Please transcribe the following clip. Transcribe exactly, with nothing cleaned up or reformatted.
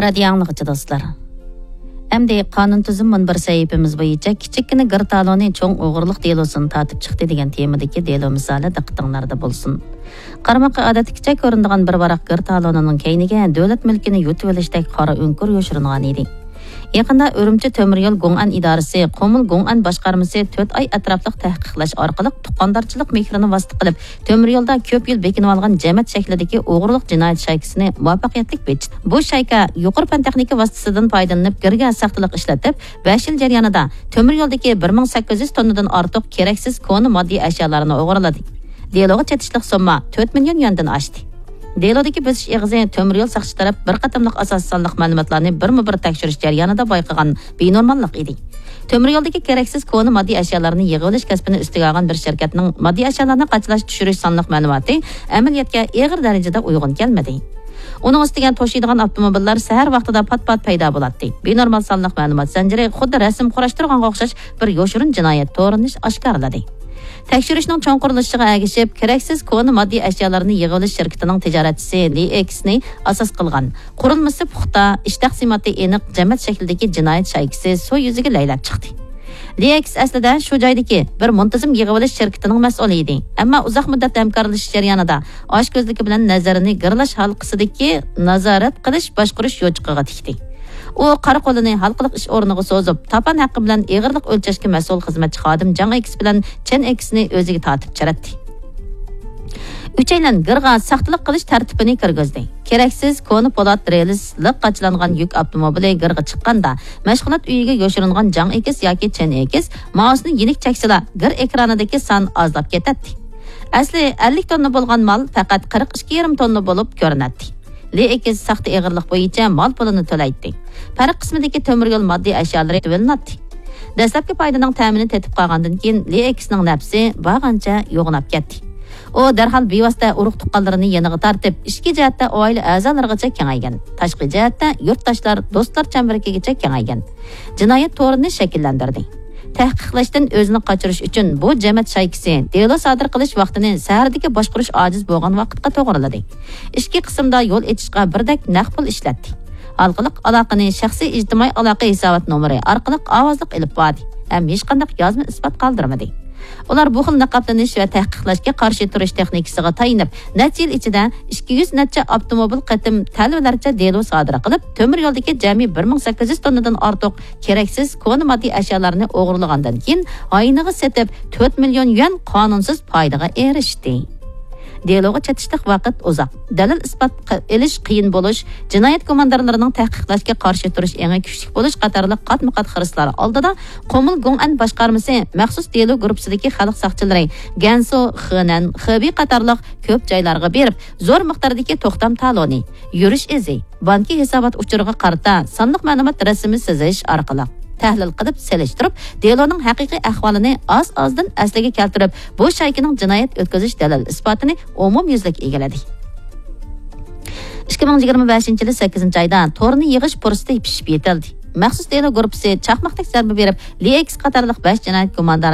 رادىيو ئاڭلىغۇچى دوستلار، ئەمدى قانۇن تۈزۈم مۇنبىرى سەھىپىمىز بويىچە كىچىككىنە گىر تالونى چوڭ ئوغرىلىق دېلوسىنى تارتىپ چىقتى دېگەن تېمىدىكى دېلو مىسالى دىققىتىڭلاردا بولسۇن. قارىماققا ئادەتتىكىچە كۆرۈنىدىغان بىر ۋاراق گىر تالونىنىڭ كەينىگە دۆلەت مۈلكىنى يۇتۇۋېلىشتەك قارا ئۆڭكۈر يوشۇرۇنغان ئىدى. يېقىندا ئۈرۈمچى تۆمۈر يول گوڭئەن ئىدارىسى، قۇمۇل گوڭئەن باشقارمىسى تۆت ئاي ئەتراپلىق تەھقىقلەش ئارقىلىق تۇغقاندارچىلىق مېھرىنى ۋاسىتە قىلىپ، تۆمۈر يولدا كۆپ يىل بېكىنىۋالغان جەمەت شەكلىدىكى ئوغرىلىق جىنايەت شايكىسىنى مۇۋەپپەقىيەتلىك بېكىتتى. بۇ شايكا يۇقىرى پەن تېخنىكا ۋاسىتىسىدىن پايدىلىنىپ، گىرگە ساختىلىق ئىشلىتىپ، بەش يىل جەريانىدا تۆمۈر يولدىكى بىر مىڭ سەككىز يۈز توننىدىن ئارتۇق كېرەكسىز كونا ماددىي ئەشيالارنى ئوغرىلىدى. دېلوغا چېتىشلىق سومما تۆت مىليون يۈەندىن ئاشتى. دېلودىكى بۆسۈش ئېغىزى تۆمۈر يول ساقچى تەرەپ بىر قېتىملىق ئاساسىي سانلىق مەلۇماتلارنى بىرمۇ بىر تەكشۈرۈش جەريانىدا بايقىغان بىنورماللىق ئىدى. تۆمۈر يولدىكى كېرەكسىز كونا ماددىي ئەشيالارنى يىغىۋېلىش كەسپىنى ئۈستىگە ئالغان بىر شىركەتنىڭ ماددىي ئەشيالارنى قاچىلاش، چۈشۈرۈش سانلىق مەلۇماتى ئەمەلىيەتكە ئېغىر دەرىجىدە ئۇيغۇن كەلمىدى. ئۇنىڭ ئۈستىگە توشۇيدىغان ئاپتوموبىللار سەھەر ۋاقتىدا پات-پات پەيدا بولاتتى. بىنورمال سانلىق مەلۇمات زەنجىرى خۇددى رەسىم قۇراشتۇرغانغا ئوخشاش بىر يوشۇرۇن جىنايەت تورىنى ئاشكارىلىدى. تەكشۈرۈشنىڭ چوڭقۇرلىشىشىغا ئەگىشىپ، كېرەكسىز كونا ماددىي ئەشيالارنى يىغىۋېلىش شىركىتىنىڭ تىجارەتچىسى لى ئېكسنى ئاساس قىلغان، قۇرۇلمىسى پۇختا، ئىش تەقسىماتى ئېنىق جەمەت شەكلىدىكى جىنايەت شايكىسى سۇ يۈزىگە لەيلەپ چىقتى. لى ئېكس ئەسلىدە شۇ جايدىكى بىر مۇنتىزىم يىغىۋېلىش شىركىتىنىڭ مەسئۇلى ئىدى، ئەمما ئۇزاق مۇددەت ھەمكارلىشىش جەريانىدا ئاچكۆزلۈكى بىلەن نەزىرىنى گىرلاش ھالقىسىدىكى نازارەت قىلىش باشقۇرۇش يوچۇقىغا تىكتى. ئۇ قارا قولىنى ھالقىلىق ئىش ئورنىغا سوزۇپ، تاپان ھەققى بىلەن ئېغىرلىق ئۆلچەشكە مەسئۇل خىزمەتچى خادىم جاڭ ئېكس بىلەن چېن ئېكسنى ئۆزىگە تارتىپ چىرەتتى. ئۈچەيلەن گىرغا ساختىلىق قىلىش تەرتىپىنى كىرگۈزدى. كېرەكسىز كونا پولات رېلىسلىق قاچىلانغان يۈك ئاپتوموبىلى گىرغا چىققاندا، مەشغۇلات ئۆيىگە يوشۇرۇنغان جاڭ ئېكس ياكى چېن ئېكس مائۇسنى يېنىك چەكسىلا، گىر ئېكرانىدىكى سان ئازلاپ كېتەتتى. ئەسلى ئەللىك توننا بولغان مال پەقەت قىرىق ئىككى يېرىم توننا بولۇپ كۆرۈنەتتى. لى ئېكس ساختا ئېغىرلىق بويىچە مال پۇلىنى تۆلەيتتى. پەرق قىسمىدىكى تۆمۈر يول ماددىي ئەشيالىرى تۆۋەنلەتتى. دەسلەپكى پايدىنىڭ تەمىنى تېتىپ قالغاندىن كېيىن، لى ئېكسنىڭ نەپسى بارغانچە يوغىناپ كەتتى. ئۇ دەرھال بىۋاسىتە ئۇرۇق-تۇغقانلىرىنى يېنىغا تارتىپ، ئىچكى جەھەتتە ئائىلە ئەزالىرىغىچە كېڭەيگەن، تاشقى جەھەتتە يۇرتداشلار، دوستلار چەمبىرىكىگىچە كېڭەيگەن جىنايەت تورىنى شەكىللەندۈردى. تەھقىقلەشتىن ئۆزىنى قاچۇرۇش ئۈچۈن بۇ جەمەت شايكىسى دېلو سادىر قىلىش ۋاقتىنى سەھەردىكى باشقۇرۇش ئاجىز بولغان ۋاقىتقا توغرىلىدى. ئىچكى قىسىمدا يول ئېچىشقا بىردەك نەق پۇل ئىشلەتتى. ھالقىلىق ئالاقىنى شەخسىي ئىجتىمائىي ئالاقە ھېسابات نومۇرى ئارقىلىق ئاۋازلىق ئېلىپ باردى ھەم ھېچقانداق يازما ئىسپات قالدۇرمىدى. ئۇلار بۇ خىل نىقابلىنىش ۋە تەھقىقلەشكە قارشى تۇرۇش تېخنىكىسىغا تايىنىپ، نەچچە يىل ئىچىدە ئىككى يۈز نەچچە ئاپتوموبىل قېتىم تەلۋىلەرچە دېلو سادىر قىلىپ، تۆمۈر يولدىكى جەمئىي بىر مىڭ سەككىز يۈز توننىدىن ئارتۇق كېرەكسىز كونا ماددىي ئەشيالارنى ئوغرىلىغاندىن كېيىن، ھاينىغا سېتىپ، تۆت مىليون يۈەن قانۇنسىز پايدىغا ئېرىشتى. دېلوغا چېتىشلىق ۋاقىت ئۇزاق، دەلىل ئىسپات ق-، ئېلىش قىيىن بولۇش، جىنايەت گۇماندارلىرىنىڭ تەھقىقلاشكە قارشى تۇرۇش ئېڭى كۈچلۈك بولۇش قاتارلىق قاتمۇ-قات خىرىسلار ئالدىدا، قۇمۇل گوڭئەن باشقارمىسى مەخسۇس دېلو گۇرۇپپىسىدىكى خەلق ساقچىلىرى گەنسۇ، خېنەن، خېبېي قاتارلىق كۆپ جايلارغا بېرىپ، زور مىقداردىكى توختام تالونى، يۈرۈش ئىزى، بانكا ھېسابات ئۇچۇرىغا قارىتا سانلىق مەلۇمات رەسىمى سىزىش ئارقىلىق تەھلىل قىلىپ سېلىشتۇرۇپ، دېلونىڭ ھەقىقىي ئەھۋالىنى ئاز-ئازدىن ئەسلىگە كەلتۈرۈپ، بۇ شايكىنىڭ جىنايەت ئۆتكۈزۈش دەلىل ئىسپاتىنى ئومۇميۈزلۈك ئىگىلىدى. ئىككى مىڭ يىگىرمە بەشىنچى يىلى سەككىزىنچى ئايدا تورنى يىغىش پۇرسىتى پىشىپ يېتىلدى. مەخسۇس دېلو گۇرۇپپىسى چاقماقتەك زەربە بېرىپ، لى ئېكس قاتارلىق بەش جىنايەت گۇماندارى